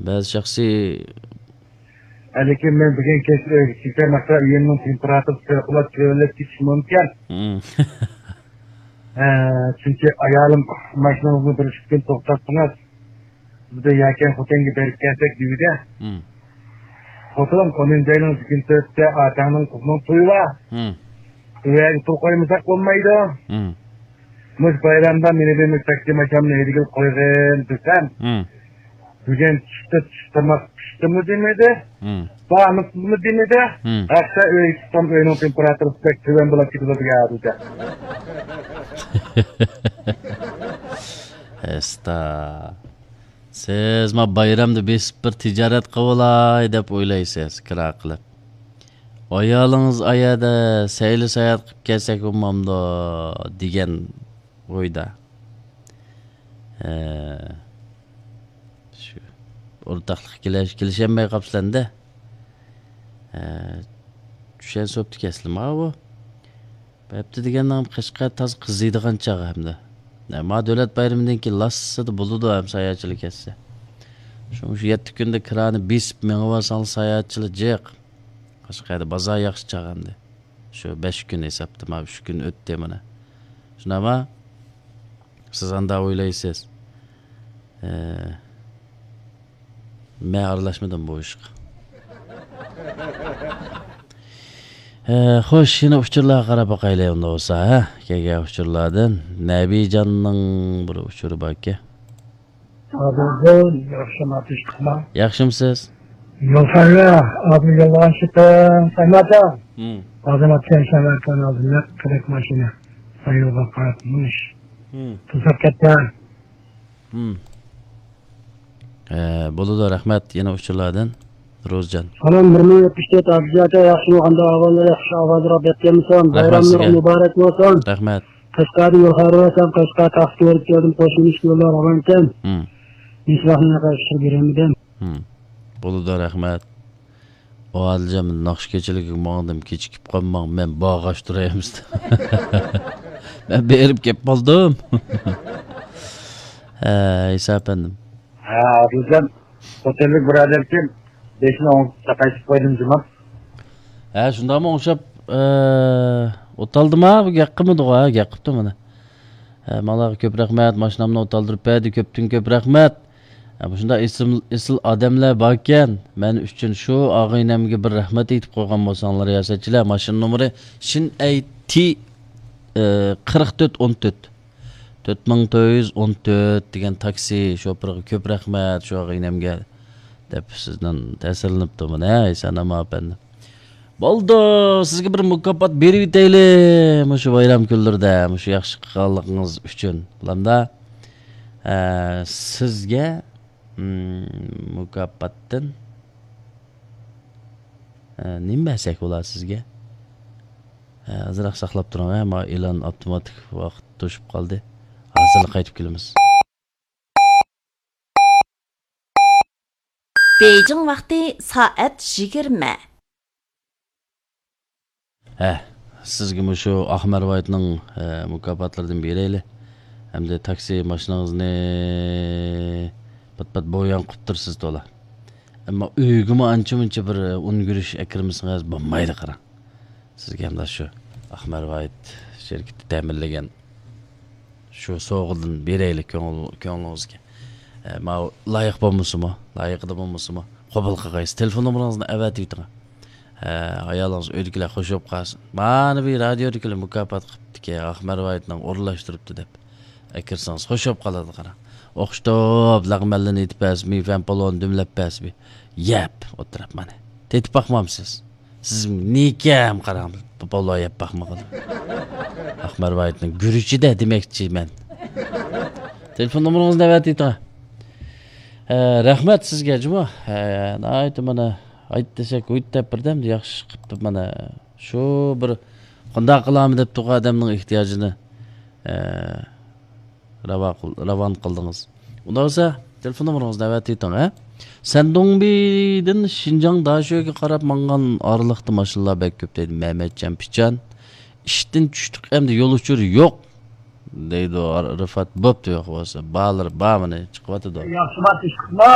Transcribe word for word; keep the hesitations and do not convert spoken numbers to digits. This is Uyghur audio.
بەزى شەخسىي لېكىن مەن بۈگۈن كەچ ئۆيگە چىقسام، مەسىلەن، ئۆيۈمنىڭ تېمپېراتۇرىسى پەۋقۇلئاددە تۆۋەنلەپ كېتىشى مۇمكىن. مم. ھە، چۈنكى ئايالىم ماشىنىڭىزنى بىر ئىككى كۈن توختاتسىڭىز، بىزدە يەكەن خوتەنگە بېرىپ كەلسەك دېدى. مم. خوتۇنۇم، ئونىنچى ئاينىڭ يىگىرمە تۆتىدە ئاتاڭنىڭ قىزىنىڭ تويى بار. مم. ئۇ يەرگە پۇل قويمىساق بولمايدۇ. مم. مۇشۇ بايرامدا مېنى بىر مۇشۇ تاكسى ماشىنامنى ھەيدىگىلى قويغىن دېسەم، مم. بۈگۈن چۈشتە چۈش تاماق پىشتىمۇ دېمىدى، مم. بارمۇسىزمۇ دېمىدى. مم. ھەتتا ئۆيگە چىقسام ئۆينىڭ تېمپېراتۇرىسى بەك تۆۋەن بولۇپ كېتىدۇ دېگەن دېدى. ئەستا. سىز ما بايرامدا بېسىپ بىر تىجارەت قىلىۋالاي دەپ ئويلايسىز، كىرا قىلىپ. ئايالىڭىز ئايەردە سەيلە ساياھەت قىلىپ كەلسەك بولمامدۇ دېگەن ئويدا. ھە، شۇ ئورتاقلىققا كېلىش-، كېلىشەلمەي قاپسىلەندە. ھە، چۈشەن سوپتىكەنسىلە ماۋۇ. بەپتى دېگەننىڭ قەشقەر تازا قىزىيدىغان چاغى ھەمدە. ھە، ما دۆلەت بايرىمىدىن كېيىن لاسسىدا بولىدۇ ھەم ساياھەتچىلەر كەتسە. شۇڭا شۇ يەتتە كۈندە كىرانى بېسىپ مېڭىۋالساڭلار ساياھەتچىلەر جىق. قەشقەردە بازار ياخشى چاغ ئەمدى. شۇ بەش كۈن ھېسابتا، ما ئۈچ كۈن ئۆتتى مانا. شۇنداقما؟ سىز ئاندا ئويلايسىز. ئە، مەن ئارىلاشمىدىم بۇ ئىشقا. ئە، خوش، يەنە ئۇچۇرلارغا قاراپ باقايلى ئۇندا بولسا، ھە؟ كەلگەن ئۇچۇرلاردىن. نەبىجاننىڭ بىر ئۇچۇرى باركەن. ئادىلجان، ياخشىمۇ، تىنچلىقمۇ؟ ياخشىمۇسىز؟ يول خەۋىرى، ئادىل يوللىغان شىپىڭ، سەمەتەڭ. ھىم. ئادىل ئاتكەن سەمەتەڭ ئالدىمدا قىلىق ماشىنا. سايلىغا قاراپ مۇش. ھىم. توسۇپ كەتكەن. ھىم. ئە، بولىدۇ، رەھمەت يەنە ئۇچۇرلاردىن. روزجان. سالام، بىر مىڭ يەتمىش تۆت ئابدۇجان ئاكا، ياخشىمۇ، قانداق ئەھۋاللار، ياخشى ئاۋازراق دەپ كەلمىسەم، رەھمەت بايراملىرىڭ سىزگە. مۇبارەك بولسۇن. رەھمەت. قەشقەردىن يول خەۋىرى بەرسەم، قەشقەر تاغقا كۆرۈپ كەلدىم، قوشۇن ئىشكە يوللار ئاۋاركەن. ھىم. ھېچۋاقىت مېنى قەشقەرگە بېرەلمىدىم. ھىم. بولىدۇ، رەھمەت. ئۇ ھالىجان، مەن ناخشا كېچىلىكىگە ماڭدىم، كېچىكىپ قالماڭ، مەن باغاش تۇرايمىز. مەن بېرىپ كەپ قالدىم. ھە، ئىسا ئەپەندىم. ھە، ئادىلجان، خوتەنلىك بۇرادەركەن، بېشىنى ئوڭشاپ ساقايتىپ قويدۇم جۇمۇ. ھە، شۇنداقمۇ ئوڭشاپ، ئە، ئوتالدىما؟ بۇ گەپ قىلمىدىغۇ، ھە، گەپ قىپتۇ مانا. ھە، ماڭىلارغا كۆپ رەھمەت، ماشىنامنى ئوتالدۇرۇپ بەردى، كۆپتىن كۆپ رەھمەت. ھە، مۇشۇنداق ئېسىل، ئېسىل ئادەملەر باركەن، مەن ئۈچۈن شۇ ئاغىنەمگە بىر رەھمەت ئېيتىپ قويغان بولساڭلار، رىياسەتچىلەر، ماشىنا نومۇرى شىن ئەي تى، ئە، قىرىق تۆت ئون تۆت. تۆت مىڭ تۆت يۈز ئون تۆت دېگەن تاكسى شوپۇرىغا كۆپ رەھمەت، شۇ ئاغىنەمگە دەپ سىزدىن تەسىرلىنىپتۇ مانا، ھە، ئېسەن-ئامان ئەپەندى. بولدى، سىزگە بىر مۇكاپات بېرىۋېتەيلى، مۇشۇ بايرام كۈنلىرىدە، مۇشۇ ياخشى قىلغانلىقىڭىز ئۈچۈن. بولامدا، ئە، سىزگە، مم، مۇكاپاتتىن، ئە، نېمە بەرسەك بولا سىزگە؟ ئە، ئازراق ساقلاپ تۇرۇڭ، ھە، مانا ئېلان ئاپتوماتىك ۋاقىت توشۇپ قالدى. ھازىرلا قايتىپ كېلىمىز. بېيجىڭ ۋاقتى سائەت يىگىرمە. ھە، سىزگە مۇشۇ ئاق مەرۋايىتنىڭ، ھە، مۇكاپاتلىرىدىن بېرەيلى. ئەمدى تاكسى ماشىنىڭىزنى پات-پات بوياڭ قىپتۇرسىز تولا. ئەمما ئۆيگىمۇ ئانچە-مۇنچە بىر ئۇن گۈرۈچ ئەكىرمىسىڭىز بولمايدۇ، قاراڭ. سىزگە ھەمدە شۇ ئاق مەرۋايىت شىركىتى تەمىنلىگەن شۇ سوۋغىدىن بېرەيلى كۆڭۈل-، كۆڭلىڭىزگە. ئە، ماۋۇ لايىق بولمىسىمۇ، لايىقىدا بولمىسىمۇ، قوبۇل قىلغايسىز. تېلېفون نومۇرىڭىزنى ئەۋەتىۋېتىڭ. ئە، ئايالىڭىز ئۆيدىكىلەر خوش بولۇپ قالسۇن. مانىۋى رادىيودىكىلەر مۇكاپات قىپتىكەن، ئاق مەرۋايىتنىڭ ئورۇنلاشتۇرۇپتۇ دەپ. ئەكىرسىڭىز خوش بولۇپ قالىدۇ، قاراڭ. ئوخشىتىپ، لەغمەنلىرىنى ئېيتىپ بەرسىمۇ، فەن پالونى دۈملەپ بەرسىمۇ. يەپ، ئولتۇرۇپ مانا. تېتىپ باقمامسىز؟ سىز نېكەم قاراڭ، بۇ بالىلار يەپ باقمىغىلى. ئاق مەرۋايىتنىڭ گۈرۈچىدە دېمەكچى مەن. تېلېفون نومۇرىڭىزنى ئەۋەتىۋېتىڭ. ھە، رەھمەت سىزگە جۇمۇ. ھە، ناھايىتى مانا، ئايت دېسەك، ھۇيت دەپ بىردەم ياخشى قىپتۇ مانا. شۇ بىر قانداق قىلامەن دەپ تۇرغان ئادەمنىڭ ئېھتىياجىنى، ھە، راۋا قىل-، راۋان قىلدىڭىز. ئۇنداق بولسا، تېلېفون نومۇرىڭىزنى ئەۋەتىۋېتىڭ، ھە؟ سەندۇڭبىدىن شىنجاڭ داشۆگە قاراپ ماڭغان ئارىلىقتا ماشىنىلار بەك كۆپ دەيدۇ، مەمەتجان پىچان. ئىشتىن چۈشتۇق، ئەمدى يول ئۇچۇرى يوق، دەيدۇ رىفات. بوپتۇ، يوق بولسا. بالىلىرى بار مانا، چىقىۋاتىدۇ. ياخشىما، تىنچلىقما؟